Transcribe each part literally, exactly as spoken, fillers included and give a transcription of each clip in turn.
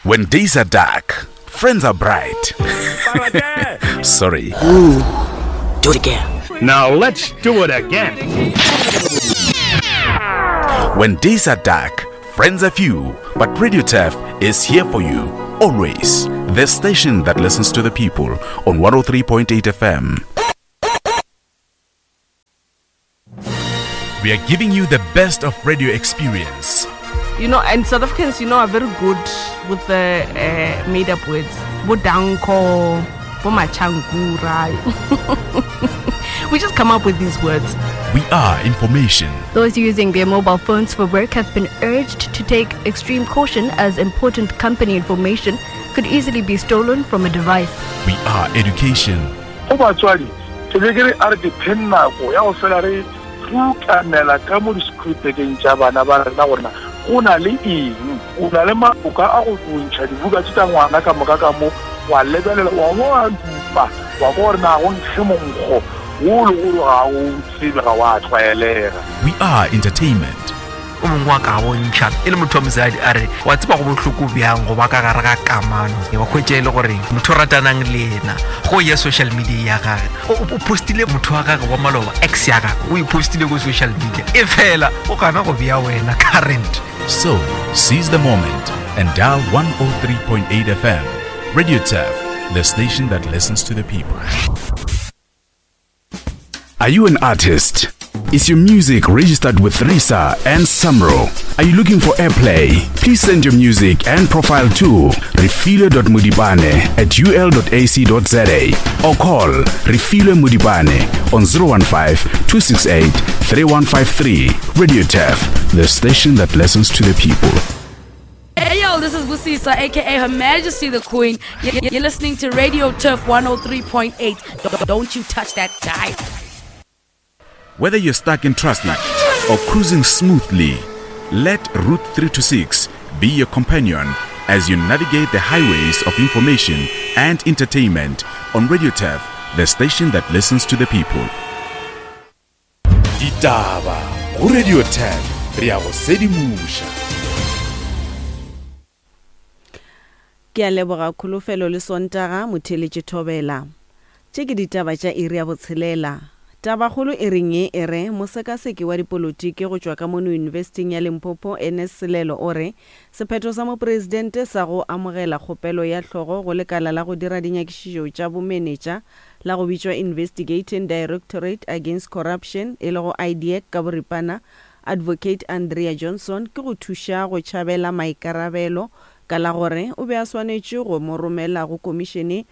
When days are dark, friends are bright. Sorry. Ooh, do it again. Now let's do it again. When days are dark, friends are few, but Radio Turf is here for you always. The station that listens to the people on one oh three point eight F M. We are giving you the best of radio experience. You know, and South Africans, you know, are very good with the, uh, made-up words. Bodanko, Bomachangura. We just come up with these words. We are information. Those using their mobile phones for work have been urged to take extreme caution as important company information could easily be stolen from a device. We are education. Go batswadi, ke be ke re a re ke phen nako ya go fela re rutamela ka mo di-scripteng tša bana ba rena gore na go na le eng, o na le mabaka a go ntšha dibuka tše tša ngwana ka moka ka mo, wa lebelela, wa bo wa dupa, wa bona gore na go nkge monkgo wo le gore ga o tsebe, ga wa tlwaelega. We are entertainment. O mongwe wa ka bontšha e le motho wa mosadi a re wa tseba go bohloko bjang go ba ka gare ga kamano, wa hwetša e le gore motho o ratanang le yena go ya social media ya gage, o, o postile motho wa gage wa maloba, ex ya gage, o e postile ko social media, e fela o gana go bea wena current. So seize the moment and dial one oh three point eight F M. Radio Turf, the station that listens to the people. Are you an artist? Is your music registered with RISA and SAMRO? Are you looking for airplay? Please send your music and profile to refilwe dot modibane at u l dot a c dot z a or call Refilwe Modibane on zero one five, two six eight, three one five three. Radio Turf, the station that listens to the people. Hey yo, this is Busisa, aka Her Majesty the Queen. You're listening to Radio Turf one oh three point eight. Don't you touch that dial. Whether you're stuck in traffic or cruising smoothly, let Route three two six be your companion as you navigate the highways of information and entertainment on Radio Turf, the station that listens to the people. Ditaba go Radio Turf, re a go sedimoša. Ke a leboga Kholofelo le Sontaga motheletše Thobela. Tše ke ditaba tša iri ya botshelela. Tabakgolo e reng ye e re mosekaseki wa dipolotiki go tšwa ka mono Yunibesithing ya Limpopo Ernest Selelo o re sephetho sa mopresidente sa go amogela kgopelo ya hlogo go lekala la go dira dinyakišišo tša bomenetša la go bitšwa Investigating Directorate Against Corruption e lego I D A C ka boripana Advocate Andrea Johnson ke go thuša go tšhabela maikarabelo ka la gore o be a swanetše go mo romela go komišene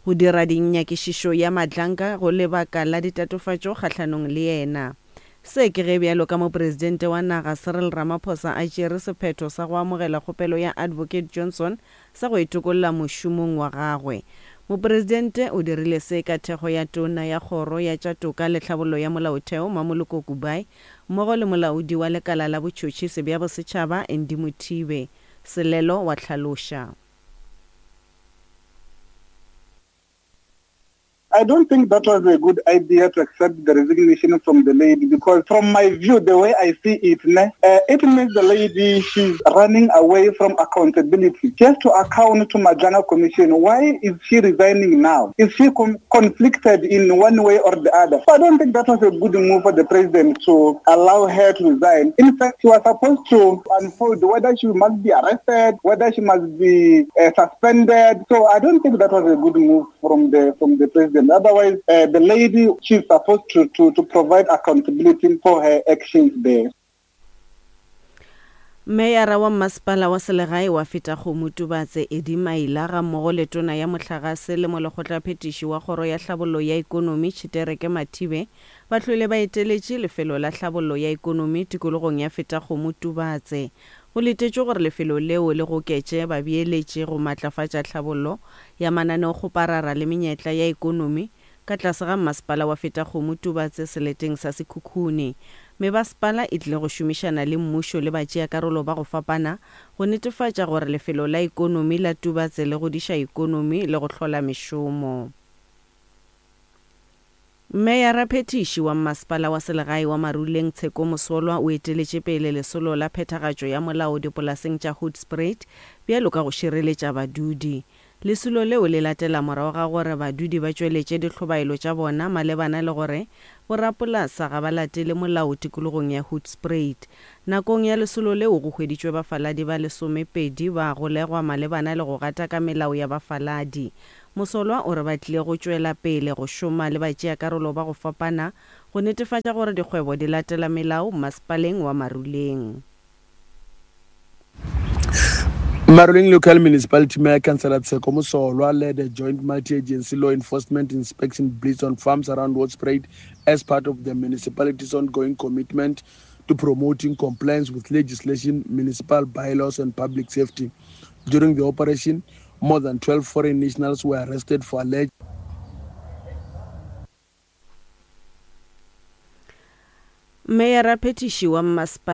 go dira dinyakišišo ya Madlanka go lebaka la ditatofatšo kgahlanong le yena. Se ke ge bjalo ka mopresidente wa naga Cyril Ramaphosa a tšere sephetho sa go amogela kgopelo ya Advocate Johnson sa go itokolla mošomong wa gagwe. Mopresidente o dirile se ka thekgo ya tona ya kgoro ya tša toka le tlhabollo ya molaotheo Mamoloko Kubayi mmogo le molaodi wa lekala la botšhotšhisi bja bosetšhaba Andy Mothibe. Selelo wa hlaloša. I don't think that was a good idea to accept the resignation from the lady, because from my view, the way I see it, ne, uh, it means the lady, she's running away from accountability. She has to account to Madlanga Commission. Why is she resigning now? Is she com- conflicted in one way or the other? So I don't think that was a good move for the president to allow her to resign. In fact, she was supposed to unfold whether she must be arrested, whether she must be, uh, suspended. So I don't think that was a good move from the, from the president. Otherwise, uh, the lady, she's supposed to, to, to provide accountability for her actions there. Meyara wa masepala wa selegae wa Fetakgomo Tubatse Eddie Maila ga mmogo le tona ya mohlagase le molekgotlaphethiši wa kgoro ya tlhabollo ya ikonomi Tshitereke Mathibe ba hlwele ba eteletše lefelo la tlhabollo ya ikonomi tikologong ya Fetakgomo Tubatse. Go letetšwe gore lefelo leo le goketše babeeletši go matlafatša tlhabollo ya mananeokgoparara le menyetla ya ikonomi ka tlase ga masepala wa Fetakgomo Tubatse seleteng sa Sekhukhune. Mebasepala e tlile go šomišana le mmušo le batšeakarolo ba go fapana go netefatša gore lefelo la ikonomi la Tubatse le godiša ikonomi le go hlola mešomo. Meyaraphethiši wa Mmasepala wa Selegae wa Maruleng Tsheko Mosolwa o eteletše pele lesolo la phethagatšo ya molao dipolaseng tša Hoedspruit bjalo ka go šireletša badudi. Lesolo leo le latela morago ga gore badudi ba tšweletše dihlobaelo tša bona malebana le gore borapolasa ga ba latele molao tikologong ya Hoedspruit. Nakong ya lesolo leo go hweditšwe bafaladi ba lesomepedi ba golegwa malebana le go gataka melao ya bafaladi. Mosolwa o re ba tlile go tšwela pele go šoma le batšeakarolo ba go fapana go netefatša gore dikgwebo di latela melao masepaleng wa Maruleng. Maruleng Local Municipality Mayor Councillor Tsheko Mosolwa led a joint multi-agency law enforcement inspection blitz on farms around Hoedspruit as part of the municipality's ongoing commitment to promoting compliance with legislation, municipal bylaws and public safety. During the operation, more than twelve foreign nationals were arrested for alleged Meyaraphethiši wa Mmasepala